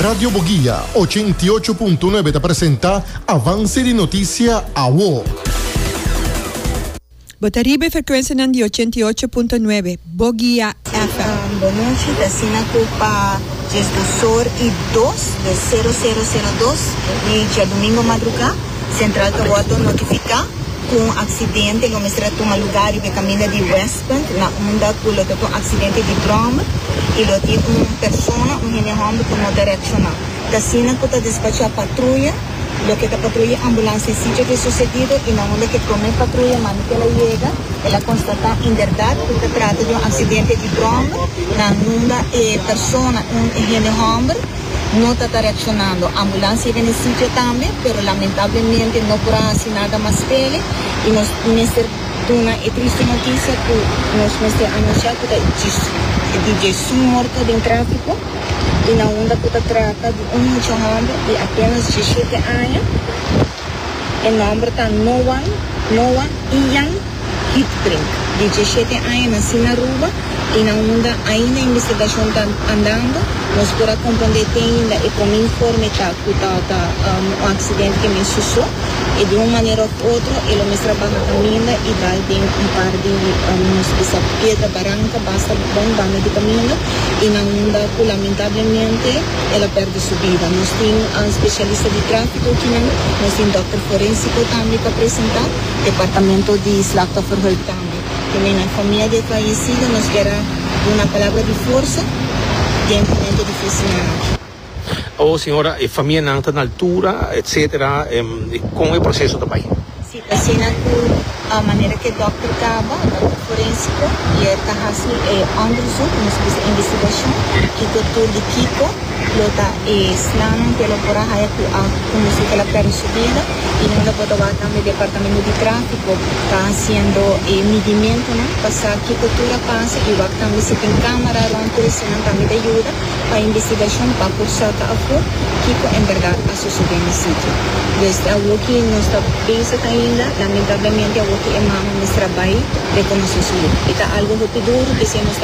Radio Boguia 88.9 ta presenta Avance di Noticia Awo. Bo ta riba e frekuensianan di 88.9 Boguia FM. Bon nochi, ta asina ku pa diesdosor i dos, dus sero sero sero dos, di djadumingu madrugá, Sentral ta wòrdu notifiká ku un aksidente lo mester a tuma lugá riba e kaminda di Westpunt na unda ku lo ta un aksidente di bròmer i lo tin un persona, un hende hòmber ku no ta reakshoná. Ta asina ku ta despachá patruya, loke ta patruya ambulans den sitio di e susedido i na unda ku e promé patruya manda ku el a yega, el a konstatá inderdat ku ta trata di un aksidente di bròmer na unda e persona, un hende hòmber, No ta ta reaccionando. Ambulans yega n'e sitio tambe, pero lamentablemente no por a haci nada mas p'ele y nos mester duna e triste noticia cu nos mester anuncia cu ta di djesun morto den trafico y na unda cu ta trata di un mucha homber di apenas djeshete aña. E nomber ta Noan, Noah Ian. Hietbrink, di djeshete aña nací na Aruba y na unda ainda investigacion ta andando, nos por a comprende te ainda e prome informe ta cu ta ta un accidente que mes suso y di un manera of otro e lo mester a baha caminda y dal den un par di nos bisa piedra baranca basta bon banda di caminda y na unda cu lamentablemente el a perde su bida. Nos tin specialista di trafico kinan, nos tin dokter forensico tambe pa presenta. Departamento di Slachtofferhulp tambe. Te na famia di e fayecido nos kier a duna palabra di forsa den momento dificilnan aki. Awor señora, e famianan ta na altura, etcetera, con e proceso ta bay? Si, ta asina cu manera cu e dokter caba, dokter forensico, y er ta haci e onderzoek, nos bisa investigacion, kico tur di kico lo ta e slanan cu e lo por a haya cu a conduci cu el a perde su bida. Y nan lo por ta wak tambe departamento di trafico ta haciendo e midimentonan pa sa kico tur a pasa y wak tambe si tin camara rond tur esnan tambe ta yuda pa investigacion pa por saca afo kico en berdad a sucede na sitio. Dus awoki nos ta bezig ainda, lamentablemente awoki e mama mester a bay reconoce su yu. Y ta algo hopi duro, p'esey nos ta.